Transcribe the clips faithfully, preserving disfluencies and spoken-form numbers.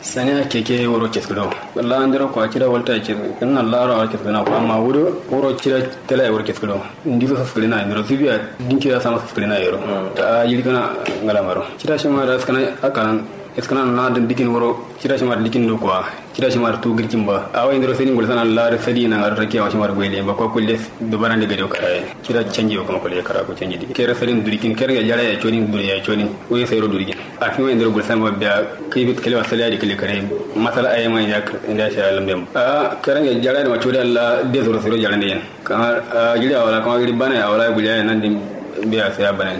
Saniya keke wuro keskǝdo. La'andero kwa cida walta keskǝna la'aro awa keskǝna kwa amma wudo wuro cida tela ye wuro keskǝdo. Ndiso saskǝrina yero zubiya dinki da sama saskǝrina yero. A jiri kana ngalamaro cida shima da skana akanan. Iskana na da dikin wuro cida shima da dikin do kwa. Cida shima da tu girkin ba awa indiro sai din gulsana la'ar sai din ngar rakiya wa shima da goyi ba kwa kulle. Dubaran da gade karaye cida canji wa kuma kulle kara ko canji dikin kere sai din durikin kere ya jara ya codin duri ya codin. Uye sai ro durikin. Afima indiro gulsana ba biya kai bit kalewa saliya da kale kare. Masala ayi ma inda inda sai alam dem a karan ya jara da ma codin Allah de zoro sai ro jara da yan. Kamar a giri awala kamar giri bana awala guliya nan din. Biya sai ya bana.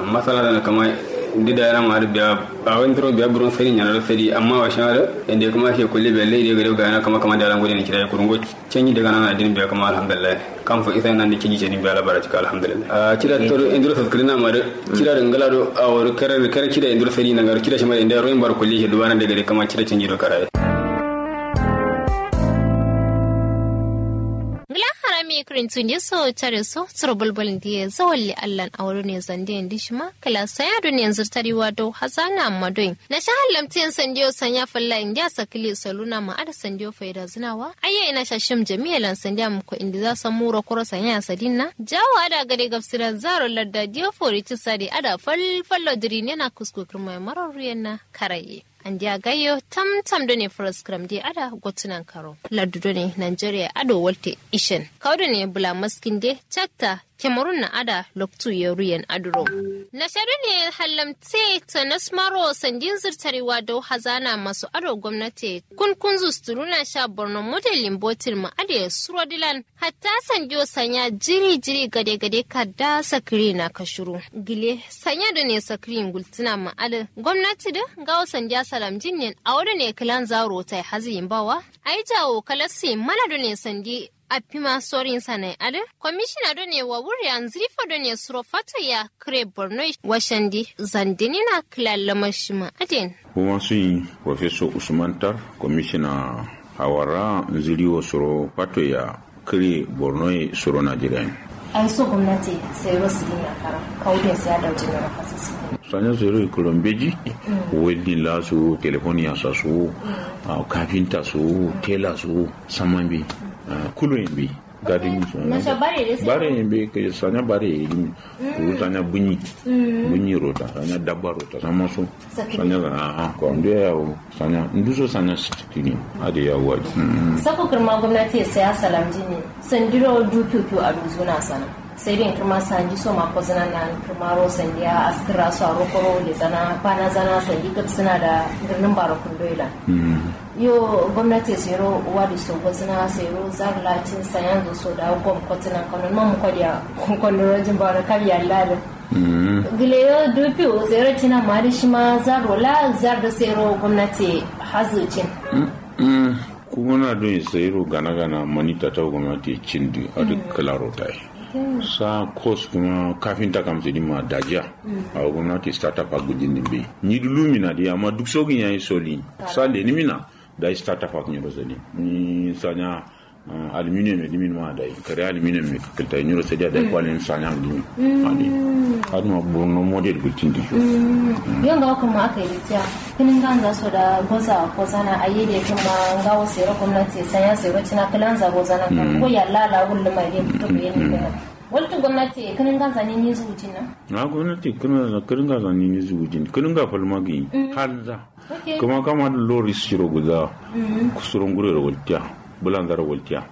Masala da kamar dida yana ma da biya a wani turo biya buron sai yana da sai amma wa shara. Inda kuma ke kulle biya lai da gare ga yana kamar kamar da ran gudun kira kurungo. Canji daga nan adin biya kamar alhamdulillah. Kan fa isa nan da kiji ce ni biya labara cika alhamdulillah. Cira to indiro saskirina ma da cira da ngala do a wuri karar karar cira indiro sai nan gar cira shi ma inda roin bar kulle shi dubana da gare kamar cira canji do karaye. Ngla harami kirintu nde so care so suro bulbul ndiye zawalli allan awado ne zande ndi shima kla saya do ne zurtari wado hazana amma doin. Na sha hallamti yen sandiyo sanya falla indiya sakili saluna ma ada sandiyo faida zinawa ayya ina sha shim jami'a lan sandiya muko indi za san muro kuro sanya sadinna jawo ada gade gabsiran zaro ladda diyo fori ci sadi ada fal fallo diri ne na kusku kirma maro ruyen na karaye. Andiya gayyo tam tam done furaskram de ada gotunan karo laddu done nigeria ado walte ishen kawo done bula maskin de chatta kemarun na ada loktu ye ruyen aduro. Na sha done hallamte tanas maro sandin zurtariwa dau hazana masu ado gwamnati kun kunzu sturuna sha borno modelin botin ma ade suro dilan. Hatta sandiyo sanya jiri jiri gade gade kadda sakiri na kashuru gile sanya done sakiri gultina ma ade gwamnati de ngawo sandiya salamjin nen awo done kilan zaro tai haziyin bawa. Ai jawo kalasi mana done sandi. Affima sorin sanai ade komishina done wa wuriya nzirifo done suro fato ya kire borno washandi zandinina kilan lamar shima aden. Kuma sun yi professor usman tar komishina hawara nziriwo suro fato ya kire borno ye suro najeriya. Ai so gwamnati sai ro sidin ya kara kawo din sai ya dauki na rafasa sidin. Sanya sai ro ikoro mbeji. Welding la su telefoniya sa su kafinta su tela su saman bi. Kulu yin bi. Gadin su bare yin bi kai sanya bare yin bi. Kuru sanya bunyi bunyi rota sanya dabba rota sama su. Sanya zana aha kwa ndu ya yawo sanya ndu so sanya sitini. Ade yawo waji. Sako kirma gwamnati sai ya salamji ne sandiro du piu piu a duzuna sana. Sai din kirma sanji so ma kozina na kirma ro sandi ya askira so a rokoro le zana bana zana sandi kap suna da girnin baro kundoila. Yo gwamnati sai ro wadi so kozina sai ro zarla cin sayan zo so da gwam kotinan kanon mamu kodiya. Kondorojin baro kabiya lalin. Gile yo dupiu zero tina mari shima zaro la zar da sero gwamnati hazucin. Kuma na dun sayiro gana gana mani tata gwamnati cin du adu kalaro tai. Sa kos kuma kafinta kam sidi ma dajiya. Awo gwamnati startup a gudin din be ni dulu mina di amma duk sogin yayi soli. Sa leni mina. Dai startup ak nyiro sadi ni sanya. Aluminium e dimin ma dai kare aluminium e kakilta nyiro sadi dai kwalin sanya aluminium. Adi aduma borno model gultin di. Yo ngawo kuma aka yi tiya kinin ganza so da goza ko zana ayi de kuma ngawo sero gwamnati sanya sero cina kilanza gozana ko yalla la gulluma de to be ni. Waltu gwamnati kinin ganza ni ni zuwutin na. Na gwamnati kinin ganza ni ni zuwutin kinin ga falmagi. Halza. Kuma kama da loris shiro guza. Kusuro ngurero waltiya. Bulanzaro waltiya.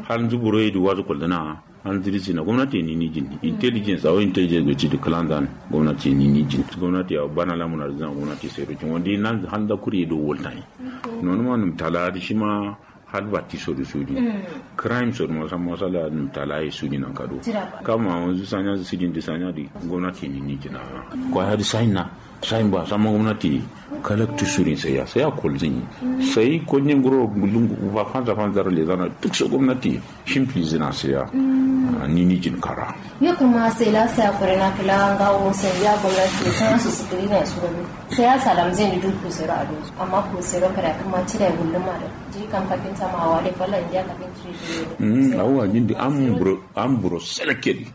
Hanzu buro yedi wazu kulduna. Hanzu risina gwamnati ni ni jin intelligence awo intelligence go cidi kilanzan. Gwamnati ni ni jin gwamnati awo bana lamuna rizina gwamnati sai rokin wandi nan hanza kuri do waltani. Nonuma num tala di shima. Har batti sodu sudi. Crime sodu ma samma sala num talaye sudi nan kado. Kama wanzu sanya sudin di sanya di gwamnati ni ni jina. Kwa har sign na. Sign ba samma gwamnati. Kalaktu sudin sai ya sai ya kolzin. Sai konyen guro gulun ba fanza fanza le zana duk so gwamnati. Shimfi zina sai ya. Ni ni jin kara. Yo kuma sai la sai akure na kila ngawo sai ya gwamnati sai su sudin na su. Sai ya salam zai ni duk kusero a dozu amma kusero kada kuma cire gulluma da. Jiri kam kafinta ma awa dai falla indiya kafinta. Awa jindi am buro am buro selekedi.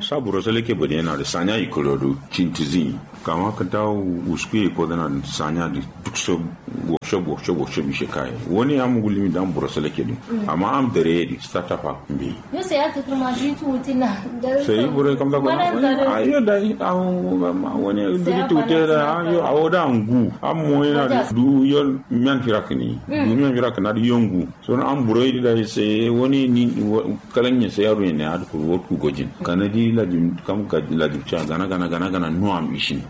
Sa buro salake bade yana da sanya ikoro do cintizi kama kanta usku ye kodana da sanya da duk so workshop workshop workshop ishe kai wani amu gulimi dan buro salake din. Amma am dare di startup ha mbi. Yo sai ya tutu ma diri tuti na. Sai buro kam da ko. Ayo da awo wani diri tuti da ayo awo da angu am mo yana du yol miyan firak ni du miyan firak na da yongu. Sono am buroi di dai sai wani ni kalan yin sai yaro ne ad kuru wot ku gojin kana di lajim kam ga lajim cha gana gana gana gana no am ishin.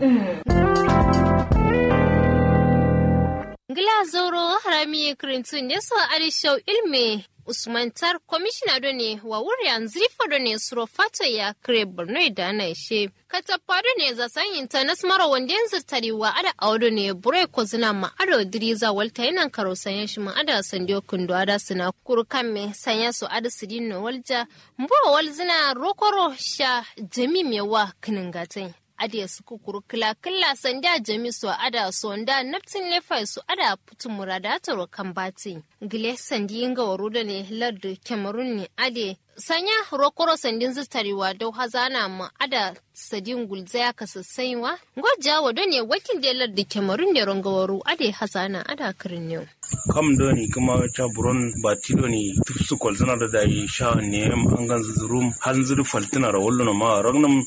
Ngila zoro harami ye kirintu nde so adi shau ilme usman tar komishina do ne wa wuri yanzu rifo do ne suro fato ya kire borno da na ishe. Katappa do ne zasan intanas maro wande zirtari wa ada awo do ne buroi kozina ma ado diriza walta yanan karo sanya shi ma ada sandiyo kundo ada sina kuru kamme sanya so ada sidin no walja. Mbo walzina rokoro sha jami mewa kiningatai. Ade suku kuru kila kila sandiya jami so ada sonda naptin lefai so ada putu murada taro kambati. Ngile sandi nga waru do ne lardu cameroon ne ade sanya rokoro sandin zirtari wa dau hazana ma ada sadin gulzaya kasassai wa. Ngo jawo do ne wakil de lardu cameroon de rongo waru ade hazana ada kirin ne. Kam do ne kuma ca buron bati do ne tufsu kwalzana da dai sha ne am angan zurum hal zuru faltina ra wallo ma ragnam.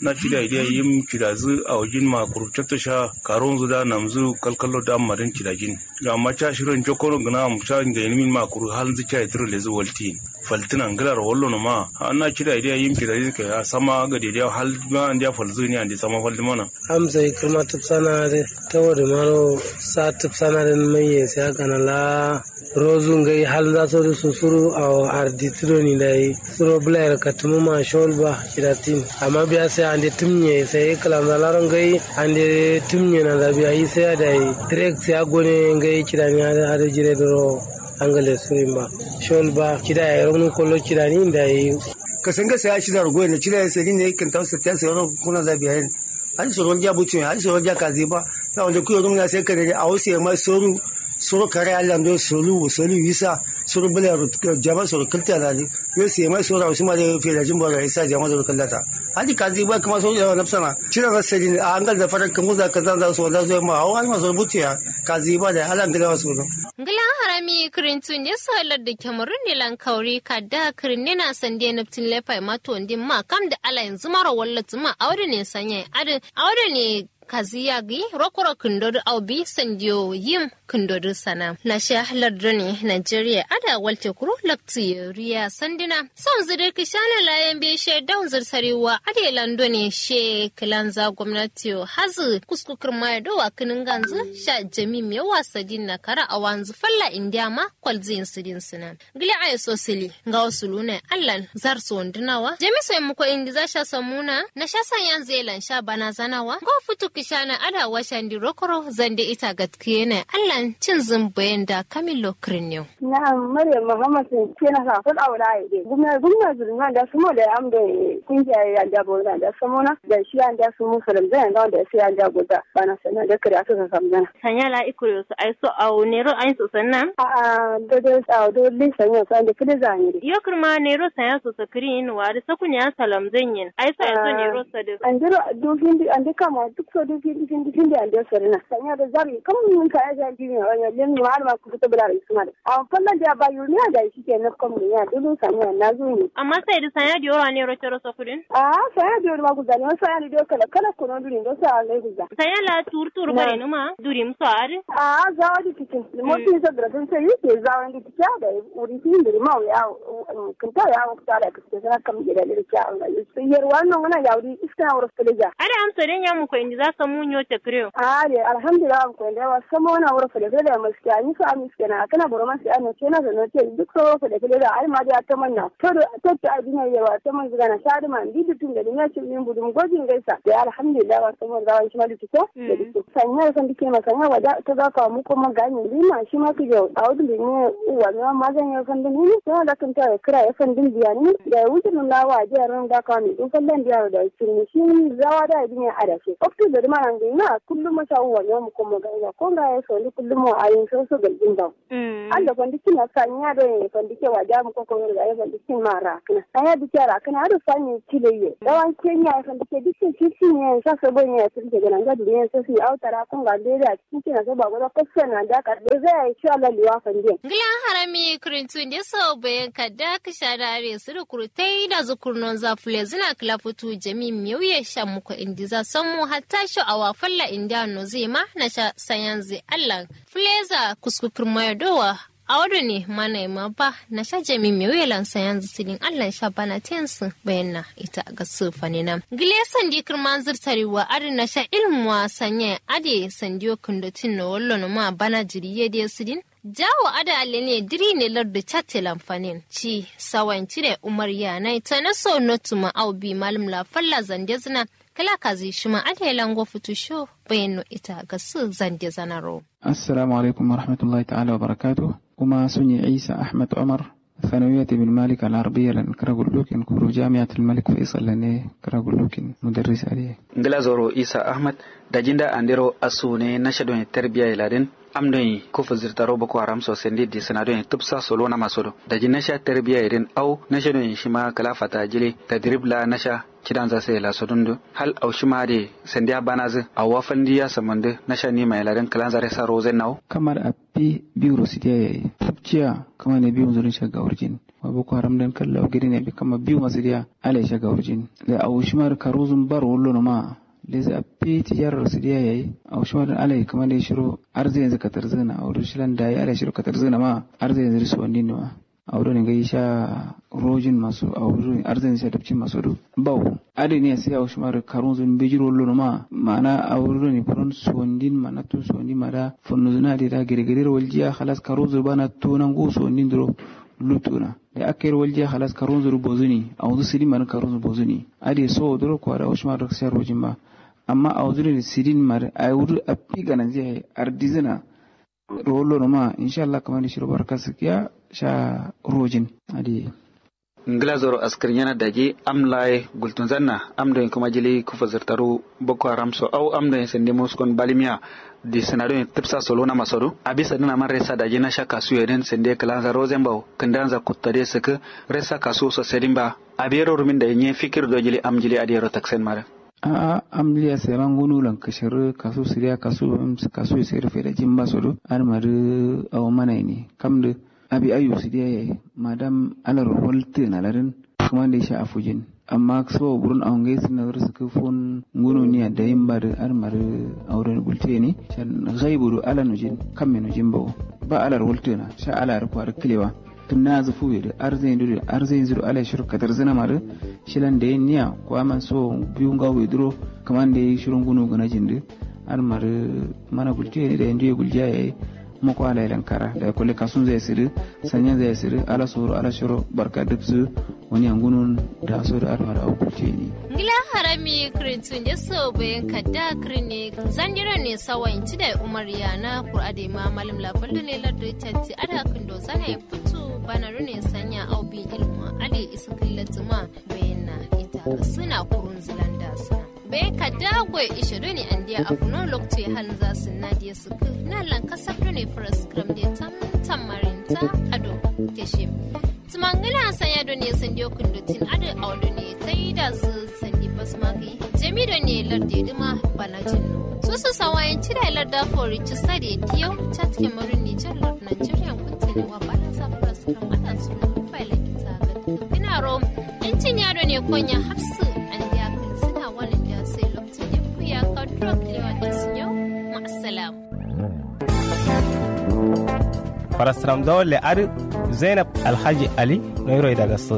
Na cida idiya yim cida zu a wajin ma kuru cakta sha karon zu da nam zu kalkallo da amma din cida jin. Amma ca shirin jokoro gana am ca inga yin min ma kuru hal zu ca itiro le zu walti. Faltina ngila ro wallo no ma. Anna cida idiya yim cida jin ka ya sama ga de hal ma andiya falzu ni andi sama faldi mana. Am sai kirma tufsana de tawo de maro sa tufsana de mai ye sai gana la. Rozu ngai hal za so du susuru awo ardi tudo ni dai. Suro blayar katumu ma shol ba kiratin amma biya sai ande tumnye sai kalan za laro ngai ande tumnye na za biya yi sai dai. Direct sai agone ngai kirani ade jire duro. Angale surin ba shol ba kida ya ronu kolo kirani dai. Kasanga sai ashi da rugo ne cire sai ne kin tausa ta sai ro kuna za biya yin. Aji soro ja butu ya aji soro ja kazi ba. Na wanda kuyo dum na sai kare a wasu ya mai soru. Soro kare Allah ndo solu solu isa soro bala jama soro kilta na ni. Yo sai mai soro a wasu ma da fe da jin ba da isa jama da kallata. Aji kazi ba kuma soro ya nafsana cire na sai a angal da faran kamu za ka zan za su wanda zo ma hawa ma soro butu ya kazi ba da Allah ngila wasu no. Ngila harami kirintu ne so lar da cameroon ne lan kauri kadda kirin ne na sande naftin lepai ma to ndin ma kam da ala yanzu maro wallat ma awde ne sanya adin awde ne kaziya gi rokoro kindodu au bi sandiyo yim kindodu sana na sha lardo ne nigeria ada walte kuro lakti riya sandina. Son zidi kishana layan be she daun zirtari wa ade lando ne she kilanza gwamnati yo hazu kusku kirma ya dowa kinin ganzu sha jami me wasa din na kara awanzu falla indiya ma kwalzin sidin sina. Gile ayo so sili ngawo suluna allan zar so wanduna wa jami so yammuko indi za sha samuna na sha san yan zelan sha bana zana wa ngawo futu kishana ada wa shandi rokoro zande ita gatkiyena allan cin zin bayan da kamilo kirniyo. Na'am maryam muhammad sun ce na sa fal aula ya de gumna gumna zulma da sumo da am da kungiya ya da bo da samuna da shi an da su musulun da da shi an da go da bana sana da kare aka samuna. Sanya la ikure su ai so awo nero ai so sanna. A'a dodon awo dodon sanya so ande kide zani de. Yo kirma nero sanya so sakrin wari sakun ya salam zanyin ai so ai so nero sadu. Andiro du findi ande kama duk so du findi findi findi ande sarina sanya da zari kam mun ka ya zari ne wanya lin ma har ma ku fito bula da isma da. Awo fallan da ba yurniya da shi ke na kom ne ya dulu sanya na zuni. Amma sai da sanya da yoro nero tero sakudin. A'a sanya da yoro ma guzani wasu sanya da yoro kala kala kuno duri ndo sa lai guza. Sanya la tur tur bari numa duri muso ari. A'a zawa di tikin mo tin so dura sun sai yake zawa di tikin da uri tin duri ma ya kinta ya wa ta da kike sana kam gida da kya. Yar wannan ngana ya wuri iska na wuri feleja. Ada am so den ya mu ko indi za so mu nyo te kreo. A'a de alhamdulillah am ko indi wa sama wana wuri feleja da maskiya ni so am iske na kana boro maskiya no kena da no te duk so wuri feleja da ai ma da ta manna to da ta ta dina yawa ta man zuga na sha da man di dutun da ni ya ci min budum gojin gaisa da alhamdulillah wa sama da wa shi ma duk ko. Sanya san dike ma sanya wa da ta ga ka mu ko ma ga ni ma shi ma ku jo a wudu ne uwa mi ma ma zan ya san dun ni sai da kan ta kira ya san dun biya ni da wudu na wa je ran da ka ni dun fallan biya da shi ni shi zawa da din ya ada shi. Oktu da Dǝ mana ngai na kullum ma sha uwa nyo muko mo gai ba ko ngaye so ndi kullum mo ayin so so gal din ba. Allo fandi kin na sanya do ye fandi ke waja muko ko gai fandi kin ma rakna sanya dike rakna ado sanya kile ye dawan kenya ye fandi ke dike shi shi ye sha so bo ye sirke gana ga duniya so si au tara ko nga de da cikin kina so ba go da ko so na da ka de zai sha Allah liwa fandi. Ngla harami kurintu nde so bayan kadda kisha da are su da kurutai da zukurnon za fule zina kila futu jami miyauye sha muko indiza sammu hatta sho awa falla indiya no zai ma na sha sayanzi allan. Fuleza kuskukur mayo dowa. Awo done mana ye ma ba na sha jami miyauye lan sayanzi sidin allan sha bana tensi bayan na ita ga su fanina. Gile sandi kirman zirtari wa adi na sha ilmuwa sanya ade sandiyo kundotin no wallo no ma bana jiri ye de sidin. Jawo ada alene diri ne lardu chatte lamfanin ci sawan cire umar ya nai tana so notu ma au bi malum la falla zande zina. Kala kazi shima ada ya lango futu sho bayan no ita ga su zande zanaro. Assalamu alaikum wa rahmatullahi ta'ala wa barakatuh. Kuma sunyi Isa Ahmad Umar, sanawiyat ibn Malik al-Arabiyya lan kira gullukin kuru jami'at al-Malik Faisal ne kira gullukin mudarris aliye. Ngila zoro Isa Ahmad da jinda andero asu ne nasha don tarbiya iladin. Am don yi kufu zirtaro boko haram so sende di sina don yi tupsa solo na masodo da ji nasha tarbiya idin au nasha don yi shima kala fata jile tadrib la nasha cidan za sai la sodun du hal au shima de sende a bana zu au wafan di ya samandu nasha ni mai ladin kalan zare sa rozen nau. Kamar a fi biyu ro sidiya yayi tupciya kama ne biyu zurun sha gaurjin. Wa boko haram din kallau gidi ne bi kama biyu ma sidiya alai sha gaurjin da au shima da karuzun bar wallo no ma. Lezi a fi tijarar su diya yayi au shima din alai kama dai shiro arzi yanzu katar zina au duk shilan dayi alai shiro katar zina ma arzi yanzu su wandin ma. Au doni ngai sha rojin masu au doni arzi yanzu sha dabcin masu du bau. Adi ne sai au shima da karun zun bijiro lono ma ma'ana au doni furan su wandin ma na tun su wandin ma da funnu zuna da da girgirir waljiya halas karun zun bana tunan gu su wandin duro. Lutuna da aka yar waljiya halas karun zun bozuni au zu sidin ma din karun zun bozuni. Ade so duro kwara ushma duk sai rojin ba. Amma a wuzuri sidin mari a wuri a fi ganan zai hayi ardizina. Rolo numa insha Allah kamani shiro barka sikiya sha rojin. Adi. Ngila zoro askir yana daji am laye gultun zanna am don kuma jili kufa zirtaru boko haram so au am don sende muskon balimiya. Di sina don tupsa solo na masodu abi sadina man resa daji na sha kasu yedin sende kalanza rozen bau kindanza kuttade siki. Resa kasu so sedin ba. Abiyero rumin da nye fikir do jili am jili adiyero taksen mare. A'a am liya sema ngunu lan kashir kasu siriya kasu bam kasu sir feda jimba sodo. Ar mari awo mana ini kamdu. Abi ayu sidiya yayi madam alar holtu na ladin. Kuma da sha afujin amma so burun awon gai sinar su kufun ngunu niya da yin ba da ar mari auren gultiye ne. Shan gai buru ala nujin kamme nujin bawo. Ba alar holtu na sha alar kwari kilewa. Tun na zu fuwe da arzayin du da arzayin zu du alai shiru kadar zina mari. Shilan da yin niya kwa man so biyu nga wai duro. Kaman da yi shirun gunu gana jin du. Ar mari mana gultiye ne da yin duye guljiya yayi. Mako alai lankara da ya kulle kasun zai siri. Sanyan zai siri ala soro ala shiro barka duk su. Wani yangunun da so da ar mari au gultiye ne. Ngila harami kirintu nde so bayan kadda kirin ne. Zandiro ne sawa inci da umar yana kur'a da ma malam lafallu ne lardu tanti ada kindo zana ya fitu bana rune sanya au bin ilmu ade isa killatuma. Bayan na ita suna kurun zulanda suna. Bayan kadda goy ishe doni andiya afuno lokacin halin za su nadiya su. Na lan kasar doni first gram de tam tam marinta ado. Keshe. Tumangila sanya doni sandi okun dotin ado au doni taida su sandi basmagi. Jami doni larde duma bana jinno. Susu sawayin cida larda fori cisa de diyau. Chat kemarun nijar lord nigerian kuntini wa bana sa first gram ada su. Faila kita ga. Kinaro. Intin ya doni konya hafsu. Andiya kan suna wani da sai lokacin ya kuya ka drop lewa da su yau. Ma'asalam. Farasram dawo le adi. Zainab alhaji ali noiro daga su.